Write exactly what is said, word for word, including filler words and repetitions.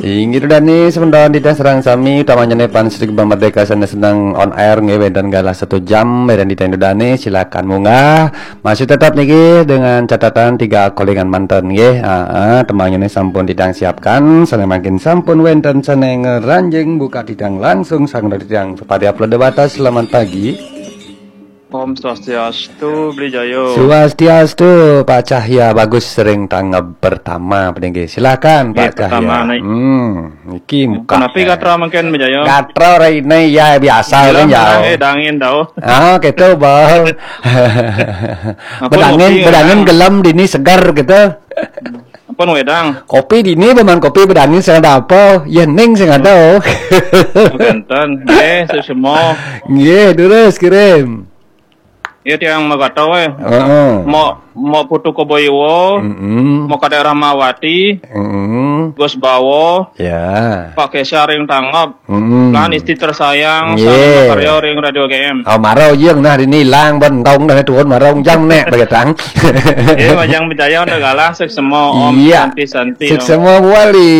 Inggih Dani, semeton titiang sareng sami, utamanya ne pan Sedik Merdeka sane sedeng on air nggih, wenten galah satu jam, wenten titiang Dani, silakan munggah. Masih tetap niki dengan catatan tiga kolingan manten nggih. Heeh, tembangnya ne sampun titiang siapkan, sane mangkin sampun wenten sane ngranjing buka titiang langsung sang titiang Supardi Upload Dewata. Selamat pagi. Om Swastiastu, Bli Jayo. Swastiastu, Pak Cahya. Bagus, ring tanggap pertama, peninggi. Silakan, Pak Cahya. Pertama, naik. Hmm, iki muka. Kenapi gatra mangkin, Bli Jayo? Gatra raine ya biasa kan, ya. Menang, eh, dangin tau. Ah, gitu, Bang. Bedangin, bedangin gelem dini segar gitu. Ampun wedang. Kopi dini, paman kopi bedangin sing ada apa? Ya ning sing ada. Wenten. Nggih, sesemo. Nggih, terus kirim. Ya tiang magata we. Heeh. Mau mau putu Koboiwo, mm-mm, mau ke daerah Mawati, mm-mm, Gus Bawo, ya, Pak Kesa ring tanggap, mm-mm, lan istri tersayang, nggih, sami makarya ring Radio G M. Oh, maro jeng nah dini ilang ben tong dah turun marong jang nek begetang. Nggih, majeng Bli Jayo udah galah sesemo, Om. Iya. Santi Santi, Om. Sesemo buali.